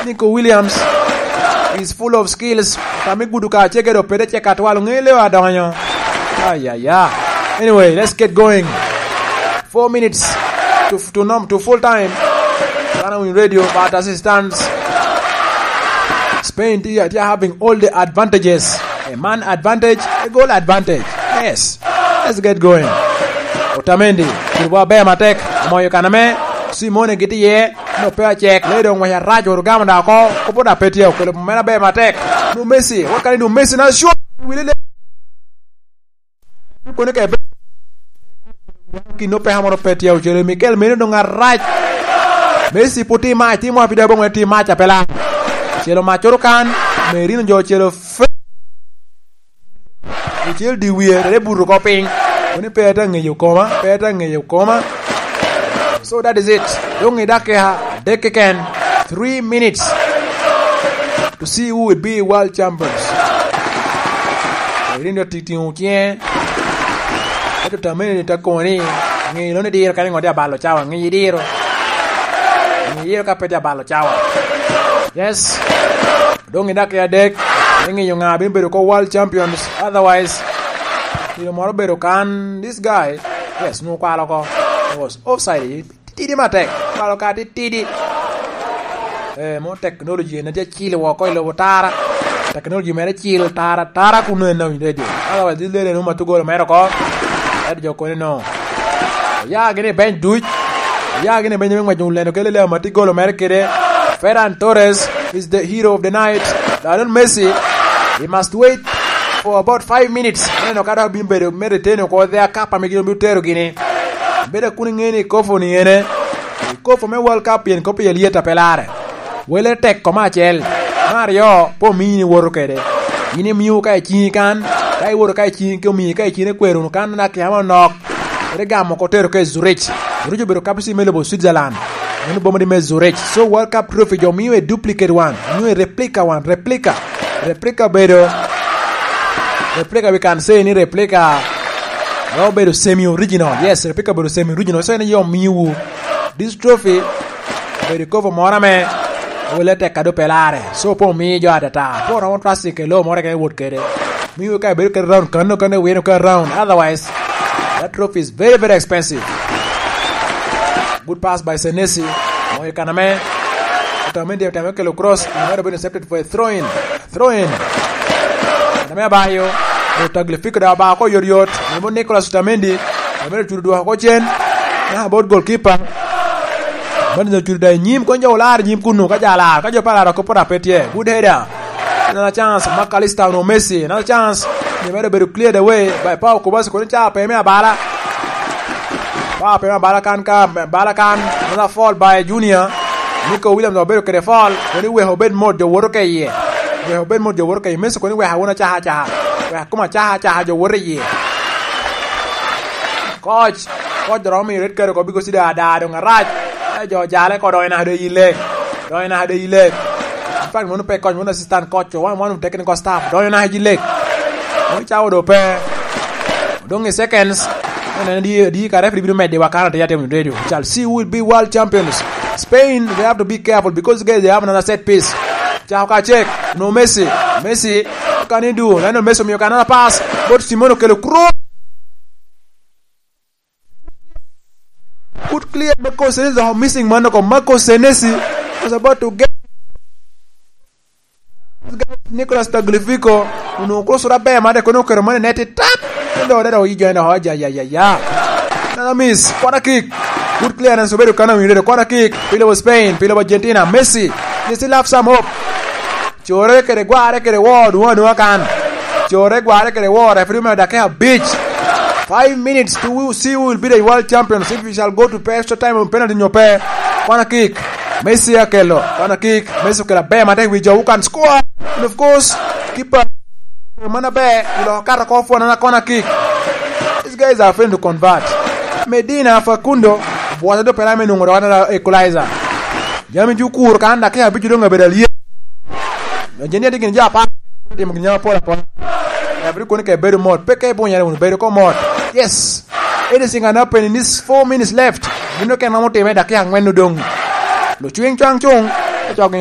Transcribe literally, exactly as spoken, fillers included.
Nico Williams is full of skills. Kami gudu ka cege do pede cek atwal, ŋe leo adonyo. Ay, ay, ay. Anyway, let's get going. Four minutes to, to, nom, to full time. Ghana Win Radio, but as it stands, Spain, they are, they are having all the advantages. A man advantage, a goal advantage. Yes. Let's get going. Otamendi, kiri wa ber matek. Omoyo kaname. Simone giti ye. No pe acek. Ledo ngwec arac, Rugamo da oko. Kopo da pe tye, okelo mera ber matek. Nu Messi, what can he do? Messi na shoot. Wili le. Kone ke be. Kino pe hamoro pe tye, ocelo Mikel Merino dong arac. Messi put i mac, timo api da bongwe ti mac apela. Ocelo mac oro kan, Merino jo ocelo fe. Ocel di wie, tere buto ko piny. Kone pe ata ŋeyo koma, pe ata ŋeyo koma. So that is it. Dong i dakika adek keken, three minutes to see who will be world champions. Rinda titiŋo ciŋe. Ento tameni ta koŋo ni, ŋe lo ni diro kadi ŋo di abalo cawa, ŋe idiro. Ŋe idiro ka pe di abalo cawa. Yes. Dong i dakika adek, me ŋeyo ŋa bino bedo ko world champions. Otherwise, kilo moro bedo kan, this guy, yes, nwo kwalo ko. It was offside. Titidi matek. Palo ka titidi. Eh, mo technology en tye cil woko i lobo tara. Technology mere cil tara, tara kuno en awinyo radio. Otherwise, this lady en umato golo mere oko. Ento jo kone no. Oya gini i bench duc. Oya gini i bench me ngwec, Lionel kele le amati golo mere kede. Ferran Torres is the hero of the night. Lionel Messi, he must wait for about five minutes. Neno ka dok bino bedo me retain oko the cup ame gin obino tero gini. Bedo kun iŋe ni Kofu ni ene. Kofu me World Cup pien Kofu pien lyet a pe lare. Wele tek koma acel. Me aryo, pe omii ni woto kede. In imio ka i ciŋi kan, ka iwoto ka i ciŋi ke omii ka i ciŋi kwero wunu kan na kiama onok. Ere gamo ko tero ke Zurich. Zurich obedo capital city me lobo Switzerland. Meno boma di me Zurich. So World Cup trophy jo mio a duplicate one, mio a replica one, replica. Replica bedo, replica we can say ni replica. Romo bedo semi original. Yes, replica bedo semi original. So en yo miwu. This trophy bedo kopo moro ame wele tek kado pelare. So po mi jo atata. Po romo trust ke lo moro ke wot kede. Miwu ka bedo ke round kano kano wino ka round. Otherwise, that trophy is very, very expensive. Good pass by Senesi. Moyo kaname. Otamendi otame kelo cross. It might have been accepted for a throw in. Throw in. Otamendi abayo. Tagliafico da ba ko yot yot. Nimo Nicolas Otamendi. Otamendi ocudo dwoko ko cen. Na about goalkeeper. Mani ocudo da i nyim, kon jo olar i nyim kunu, ka jo alar, ka jo pe alar, oko pota pe tye. Good header. Another chance, Mac Allister onwoŋo Messi. Another chance. Ni medo bedo cleared away by Pau Kubasi, kono ca pe me abala. Pau pe me abala kan ka, abala kan. Another foul by Junior. Nico Williams obedo kede foul. Kono iweko obed mot jo woto ke iye. Weko obed mot jo woto ke iye. Messi kono iweko awuna caha caha. Weko kuma caha caha jo woto iye. Coach, coach dok romo miyo red card oko because da, da, doŋ arac. Eh, jo jale ko doŋ inaka doŋ yille. Doŋ inaka doŋ yille. In fact, mono pe coach, mono assistant coach, one, one of technical staff. Doŋ inaka yille. Mono cawo do pe. Doŋ i seconds. Mono en di, di ka referee bino medde wa kana te yate radio. Shall see who will be world champions. Spain, they have to be careful because guys, they have another set piece. Cako ka check. No Messi. Messi. What can he do? Lionel Messi omiyo ka another pass. But Simone okelo cross. Put clear Marco Senesi, the missing man of Marco Senesi was about to get Nicolas Tagliafico. Uno cross da be made kono kero mane neti tap. Ndo da do ijo ndo hoja ya ya ya. Another miss. Corner kick. Good clearance obedo kana winyo corner kick. Pile was Spain, pile was Argentina. Messi. They still have some hope. Core kede gware kede wor, dwoŋ adwoŋa kan. Core gware kede wor, referee me dakika abic. Five minutes to see who will be the world champions, if we shall go to extra time on penalty nyo pe. Corner kick. Messi akelo. Corner kick. Messi okelo aber matek wi jo who can score. And of course, keeper man aber, ilo kato ko fwana na corner kick. These guys are failing to convert. Medina Facundo, bwota do pera me nwoŋo dok another equalizer. Jami ju kur kan dakika abic doŋ abedo alyet. Jeni adi gin jo apar timo gin apol apol. Abri kono ke bedo mot, pe ke bunyere wunu bedo ko mot. Yes. Anything can happen in this four minutes left. Gin okene romo time dakika angwen odong. Lucwiny cwang cung. Cok